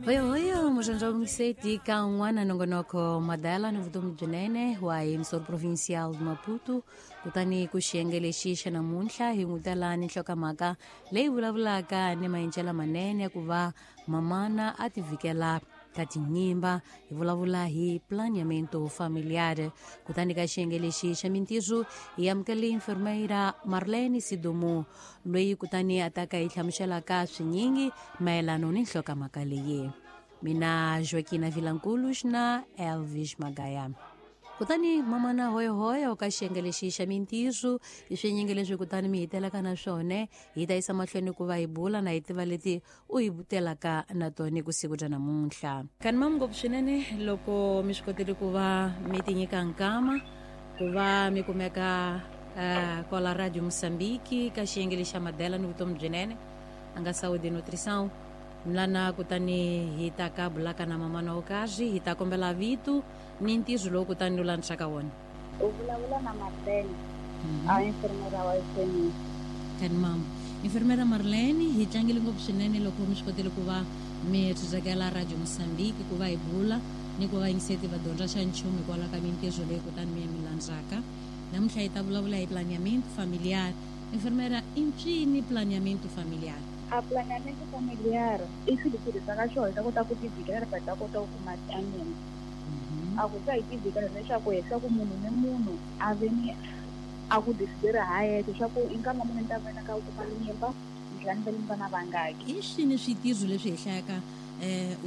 Hoyohoyo muxandza miseti ka un'wana nongonoko madala ni vutomi byinene wa emissor provincial de Maputo kutani ku xiyenge lexi xa namuntlha hi n'wi tala ni nhlokamhaka leyi vulavulaka ni maendlelo manene ya ku va mamana a tivikela ka tinyimba hi vulavula hi planeamento familiar kutani ka xiyenge lexi xa mintirho hi amukele enfermeira Marlene Sidumo loyi kutani a ta ka hi hlamuselaka swinyingi mayelano ni nhlokamhaka leyi mina Joaquina Vilankulu na Elvis Magaya kutani mamana hoyohoyo ka xiyenge lexi xa mintirho i swinyingi leswi kutani mi hitelaka na swona hi ta yisa mahlweni ku va hi bula na hi tiva leti u hi vutelaka na tona ku siku bya namuntlha kani mamu ngopfu swinene loko mi swi kotile ku va mi tinyika nkama ku va mi kumeka kwala Radio Moçambique ka xiyenge lexi xa madela ni vutomi byinene a nga saúde nutrição lana kutani hi ta ka bulaka na mamana wo karhi hi ta kombela vito ni ntirho lowu kutani u landzaka wona. U vulavula na Marlene, a enfermeira wa FNU. Kani mama. Enfermeira Marlene, hi tlangile ngopfu swinene loko mi swi kotile ku va mi tsakela Radio Moçambique ku va hi bula ni ku va yingiseti va dyondza xa nchumu hikwalaho ka mintirho leyi kutani mi mi landzaka. Namuntlha hi ta vulavula hi planeamento familiar. Enfermeira, i ncini planeamento familiar? A planeamento familiar i swilo leswi tirhisaka xona hi ta kota ku tivikela hi ta kota ku kuma tianyama. A ku ta hi tivikela leswaku hi swa ku munhu ni munhu a ve ni a ku decidera ha yexe swa ku i nkama muni ni ta va na ka ku kuma nyimba ni tlhela ni va ni vana vangaki. I swini switirho leswi hi hlayaka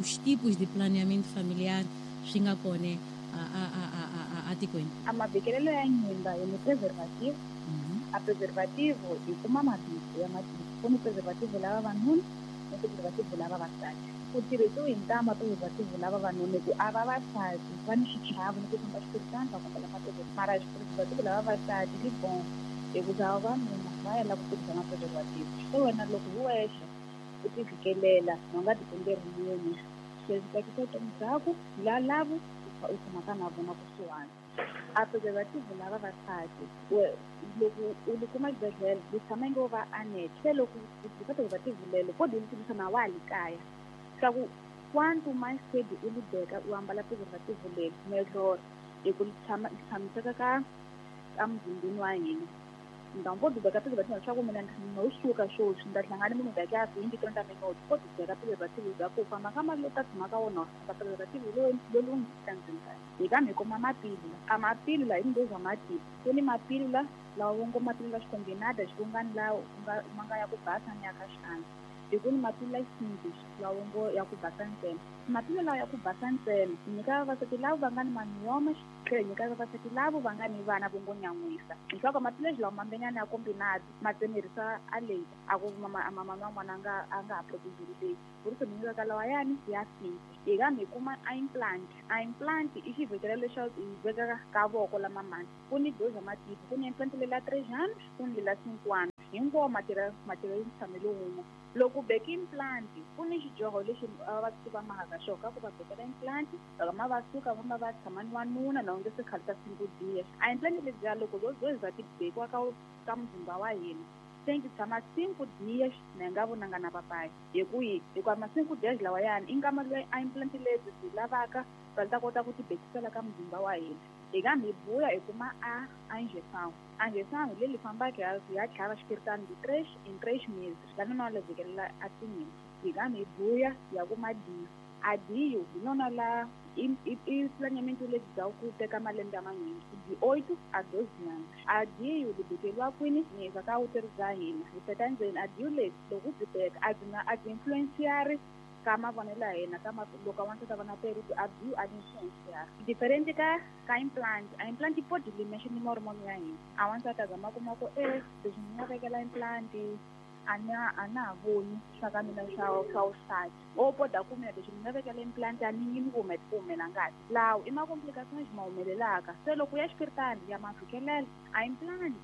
os tipos de planeamento familiar swi nga kona a tikweni? A mavikelelo ya nyimba hi ni preservative. A preservative hi kuma mavito ya matiko. Ku ni preservative la vavanuna ni preservative la vavasati. Ku tirhisiwe hi ntama preservative la vavanuna hi ku a vavasati va ni xichavo ni ku famba xipiritani va kombela ma mara preservative la vavasati li bon hikuza vavanuna va yala ku tirhisa ma preservative. Se wena loko hi wexe u tivikelela u nga dependeri munhu se swi tsakisa vutomi byaku la lavo u tshamaka na vona kusuhani. A preservative la vavasati loko u li kuma xibedhlele li tshama inge va anet se loko u tirhisa preservative lelo ko di tirhisa na wa ha li kaya swa ku quanto mais cedo u li beka u ambala preservative lelo melhor hi ku li tshama li tshamiseka ka muzimbeni wa hina. Então pode beka preservative leswaku mina no suka sweswi ni ta hlangana munhu daqui a 20 30 minutos pode beka preservative bya ku famba ka mali ta tshama ka wona preservative lowu nga ndzeni ka hi kambe hi kuma mapilula a mapilula hi ndozwa matiko ku ni mapilula lawa vo ngo mapilula xikombinada xikungani lawa ma nga ya ku basa ni ya ka xiandla hi ku ni mapilula xinghlish lawa ngo ya ku basa ntsena mapilula lawa ya ku basa ntsena hi nyika vavasati lava va nga ni mamiyoma tlhela hi nyika vavasati lavo va nga ni vana vo ngo nyan'wisa leswaku mapilula lawa mambenyana ya kombinada ma tsemerisa a leyi a ku mama wa n'wana a nga ha protejeli leyi ku ri mi nyikaka lawayani ya fika hi kambe hi kuma a implant. A implant i xivhekelo lexo hi vekaka ka voko la mamani ku ni doza matiko ku ni implant lela 3 anos ku ni lela 5 anos hinkwawo matirha ntshamelo wun'we. Loko u beka implant ku ni xidyoho lexi vavasati va mahaka xona ka ku va bekela implant loko ma va suka va va tshama ni wanuna na onge se khale ta 5 dias. A implant lebyiya loko byo za ti bekiwa ka muzimba wa hina se ti tshama 5 dias na hi nga vonanga na papayi hi ku yi hikuva ma 5 dias lawayani i nkama loyi a implant lebyi byi lavaka va ta kota ku ti bekisela ka muzimba wa hina. Hi kambe hi buya hi kuma a injeção. A injeção hi leli fambaka ya tlhava xipiritani hi 3 em 3 meses la nona la vikelela a tinyimba. Hi kambe hi buya ya kuma DIU. A DIU hi nona la i planeamento lebyi bya ku teka malembe manyingi di 8 a 12 anos. A DIU li bekeriwa kwini nyika ka vuteri bya hina hi teka ndzeni a DIU lebyi loko byi beka a byi nga a byi influenciari ka mavonelo ya hina ka loko wansati a vona period a DIU a byi influenciari. Different ka implant. A implant yi pode li mexe ni mahormone ya hina. A wansati a zama kuma ku leswi ni nga vekela implant a na ha voni swa ka mina swa vusati. O poda ku mina leswi ni nga vekela implant a ni yimi ku humela ngati. Lawa i ma complications ma humelelaka. Se loko ya xipiritani ya ma fikelela a implant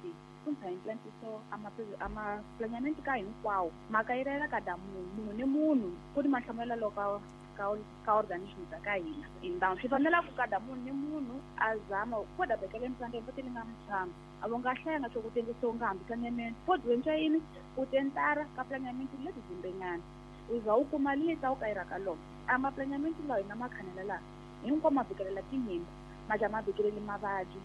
kumbe implant so a ma planeamento ka hinkwawo mhaka yi rela kada munhu ni munhu ku ni mahlamulelo loko ka organism ta ka hina. Então swi fanela ku kada munhu ni munhu a zama ku da bekela implant ya li nga mutshama a vo nga hlaya nga swo ku tengisa u nga hambi planeamento po dyondza yini u tentara ka planeamento lebyi dzimbenyana. U za u kuma lita u kayira ka lona. A maplaneamento lawa hina ma khanela laha hinkwawo ma vikelela tinyimba ma dya ma vikeleli mavabyi.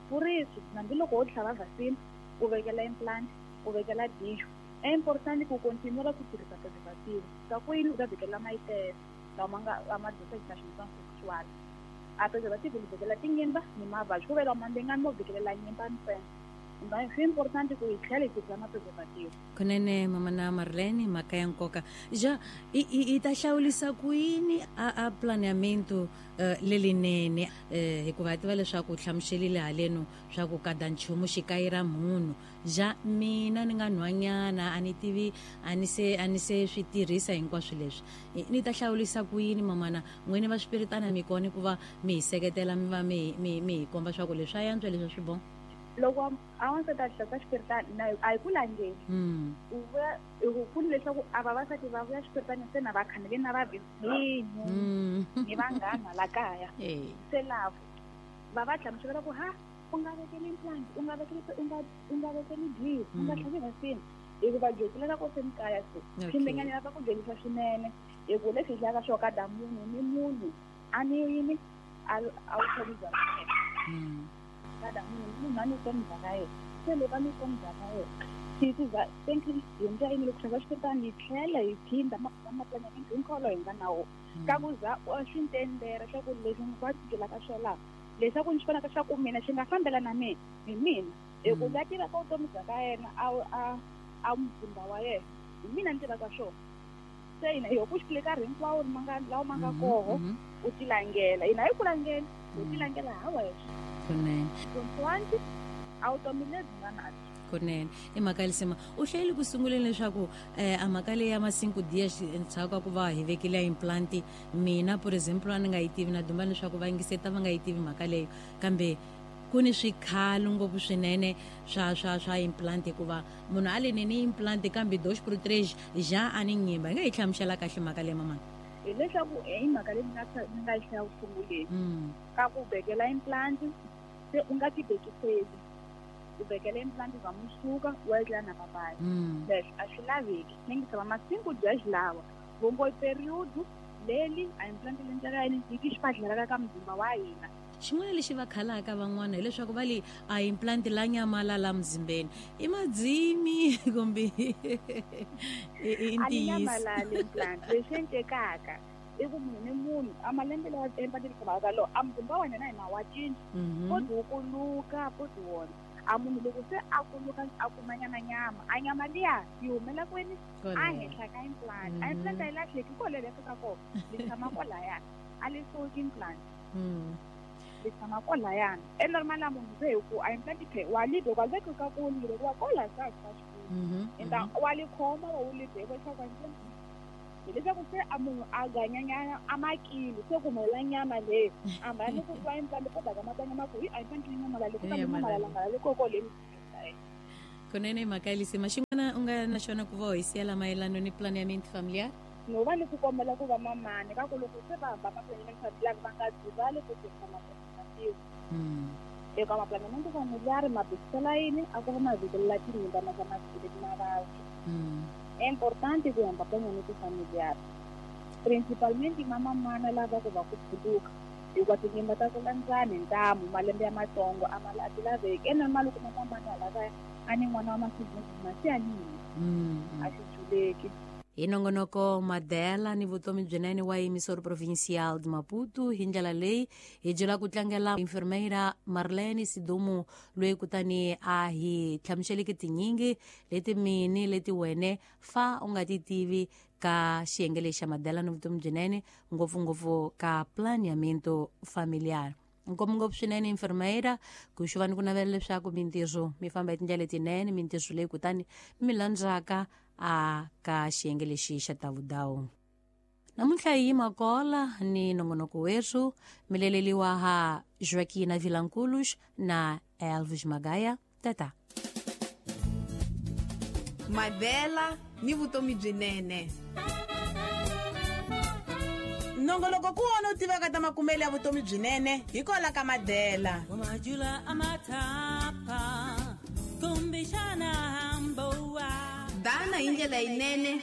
Puriso hambiloko wo tlhava vaccine u vekela implant u vekela dijo é importante ku continua ku tirhisa preservative ka ku yini u ta vikelela mayitele lawa ma nga a ma transmission sexual. A preservative li vikelela tinyimba ni mavabyi ku vela mandengani mo vikelela nyimba ntsena. Swi importante ku hi tlhela hi tirhisa ma-preservative. Kunene mamana Marlene mhaka ya nkoka ja i ta hlawulisa ku yini a planeamento lelinene hikuva hi tiva leswaku u hlamuselile haleno swa ku kada nchumu xi kayira munhu ja mina ni nga nhwanyana a ni tivi a ni se swi tirhisa hinkwaswo leswi ni ta hlawulisa ku yini mamana n'wini va swipiritana mi kona ku va mi hi seketela mi va mi hi komba swa ku leswi a yantswa leswi swi bon. Loko a wansati a hlasa xipiritana a hi ku langeni u vuya hi ku leswaku a vavasati va vuya xipiritana se na va khanele na va vhinyu ni vanghana la kaya se lavo va va hlamusela ku ha u nga vekeli implant u nga vekeli u nga vekeli drip u nga tlhavi vaccine hikuva dyondzela ko se kaya se swimbenyana lava ku dyondzisa swinene hi ku leswi hi hlaka swo kada munhu ni munhu a ni yini a wu tlhavi bya kada munhu munhu a ni vutomi bya ka yena se loko a ni vutomi bya ka yena swi thank you hi ndlela yini loko tlhava xipiritana hi tlhela hi phinda maplaneamento hinkwawo hi nga na wona ka ku za swi ntendera swa ku leswi va byelaka swo laha leswaku ni swi vonaka swa ku mina xi nga fambela na mina hi mina hi ku la tivaka vutomi bya ka yena a muzimba wa yena hi mina ni tivaka swona se hina hi ku xi karhi hinkwawo lawa ma nga koho u tilangela hina hi ku langela u tilangela ha wexe. Kunene consoante a vutomi lebyi nga na byo. Kunene i mhaka lisima u hlayile ku sunguleni leswaku a mhaka leyi ya ma-5 dias endzhaku ka ku va hi vekile implant mina por exemple a ni nga yi tivi na duma leswaku va yingiseta va nga yi tivi mhaka leyo kambe ku ni swikhalo ngopfu swinene swa implant hikuva munhu a le nene implant kambe 2 por 3 ja a ni nyimba hi nga yi hlamusela kahle mhaka leyi mamana. Hi leswaku i mhaka leyi ni nga yi hlaya ku sunguleni ka ku vekela implant se u nga ti bekiseli u vekela implant va musuka wa etlela na papaya leswi a swi laveki ni ngi tshama ma-5 dias lawa vongo period leli a implant le ndlela yini yi ti xibadlela ka muzimba wa hina. Xin'wana lexi va khalaka van'wana hileswaku va le a implant la nyamalala muzimbeni i madzimi kumbe i ntiyiso. A ni nyamalali implant leswi endlekaka i ku munhu ni munhu a malembe lawa implant yi tshamaka lo a muzimba wa hina hina wa cinca poti wu kuluka poti wona a munhu loko se a kuluka a kuma nyama nyama a nyama liya yi humela kwini a henhla ka implant a implant a yi lahleki kwale fika kona li tshama kwalayani a li suki implant li tshama kwalayani e normal a munhu se hi ku a implant phe wa li wa veka ka ku li wa kola sa sa xikulu enta wa li khoma wa wu li beka leswaku implant hileswaku se a munhu a ganyanyana a makili se ku humelela nyama leyi a mhani ku twa implant ko daka matanya ma ku hi a implant yi nyamalale ku ta nyamalala ngala le koko le. Kunene mhaka lisima xin'wana u nga na xona ku va hi siyela mayelana ni planeamento familiar no va ni ku kombela ku va mamani ka ku loko se va hamba maplaneamento familiar va nga dzivali ku tirhisa ma-preservative eka maplaneamento familiar ma bekisela yini a ku va ma vikelela tinyimba ma ka ma vikeleli mavabyi. É importante ku hamba planeamento familiar principalmente mamamana lava ku va ku phuluka hikuva tinyimba ta ku landzani hi ntamu malembe ya matsongo a ma ti laveki e normal ku mamamana lava a ni n'wana wa masiku se a ni a xi juleki. Hi nongonoko Madela ni vutomi byinene wa emissora provincial de Maputo hi ndlela leyi hi byela ku tlangela enfermeira Marlene Sidumo loyi kutani a hi hlamuseleke tinyingi leti mini leti wene fa u nga ti tivi ka xiyenge lexi xa Madela ni vutomi byinene ngopfungopfu ka planeamento familiar. Ngopfungopfu swinene enfermeira ku xi va ni ku navela leswaku mintirho mi famba hi tindlela letinene mintirho leyi kutani mi landzaka a ka xiyenge lexi xa tavudawu. Namuntlha hi yima kola ni nongonoko werhu mileleliwa ha Joaquina Vilanculos na Elvis Magaya. Tata Madela ni vutomi byinene. Nongoloko ku wona u tivaka ta makumelo ya vutomi byinene hi kola ka Madela. Dana hi ndlela yinene.